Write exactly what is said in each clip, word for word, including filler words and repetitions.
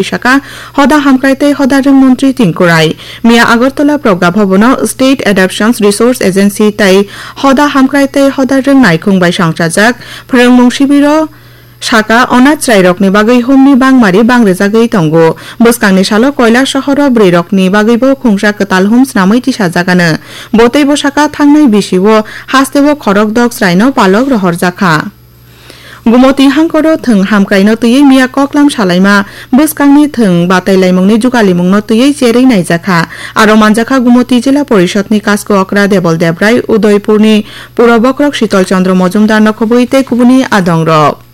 Saka hoda hamkrai tei hoda rwng montri Tinku Rai. Miya Agartala Progga Bhabono State Adaptions Resource Agency tei hoda hamkrai tei hoda rwng naikhung bai songchajak phrwngmung sibiro saka onath chwrairokni bagwi humni bangmari bangrijagwi tongo. Bwskangni salo Koilasohoro bwrwirokni bagwibo khungsa kwtal hum snamwi tisajagano. Bo tei bo saka thangnai bisio hasteo khorok dok chwraino palok rohorjakha. Gumoti hangkoro thwng hamkraino twiwi miya koklam salaima bwskangni thwng batailaimungni jugalimungno twiwi cherwi naijakha. Aro manjakha Gumoti Jila Porishodni Kasko Okra Debol Debrai, Udaipurni Puro Bokrok Shitol Chandra Mojumdar nokhobwi tei kubuni adongrok.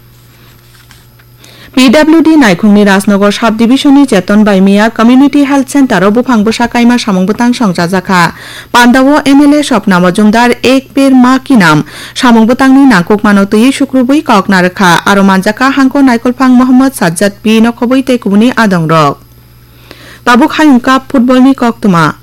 P W D Naikhungni Rajnagar Sub Division ni Cheton bai miya Community Health Center o buphang bwsa kaima samung bwtang songchajakha. Pandao M L A Swapna Mojumdar Ek Ped Maa Ki Naam samung bwtangni nangkukmano twiwi sukrubwi kok narwkha. Aro manjakha hangko naikolphang Mohammad Sajjad P nokhobwi tei kubuni adongrok. Tabuk Hayung Cup football ni koktwma.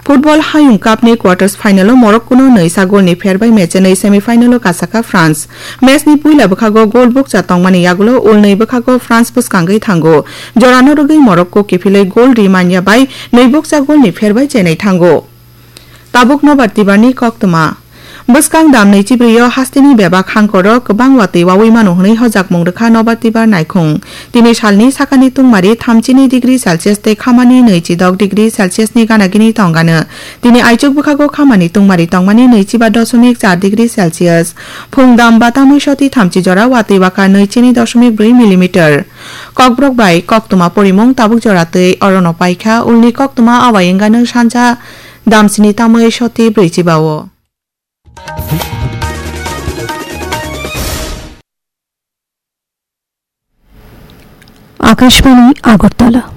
Football Hayung Cup ni quarters final o Morocco no nwisa goal ni pher bai match nwi semi final o kasakha France. Match ni puila bwkhago goal bukcha tongmani yagulo ulnwi bwkhago France bwskangwi thango. Jorano rwgwi Morocco kiphilwi goal ri manya bai nwi bukcha goal ni pher bai chenwi thango. Tabuk Nobar Tibar ni koktwma. Bwskang dam nwi chibrwi o hasteni bebak hangkoro kwbang watwi wawi mano hwnwi hojakmung rwkha Nobar Tibar Naikhung. Tini salni sakani tungmari thamchini degree Celsius tei khamani nwichidok degree Celsius ni gana gini tongano. Tini aichuk bwkhago khamani tungmari tongmani nwichiba dosomik char degree Celsius. Phung dam batamwi soti thamchi jora watwi bwkha nwichini dosomik brwi millimeter. Kokborok bai koktwma porimung tabuk jora twi orono paikha, ulni koktwma awai wngano sanja damsini tamwi soti brwichiba o. Akashbani Agartala.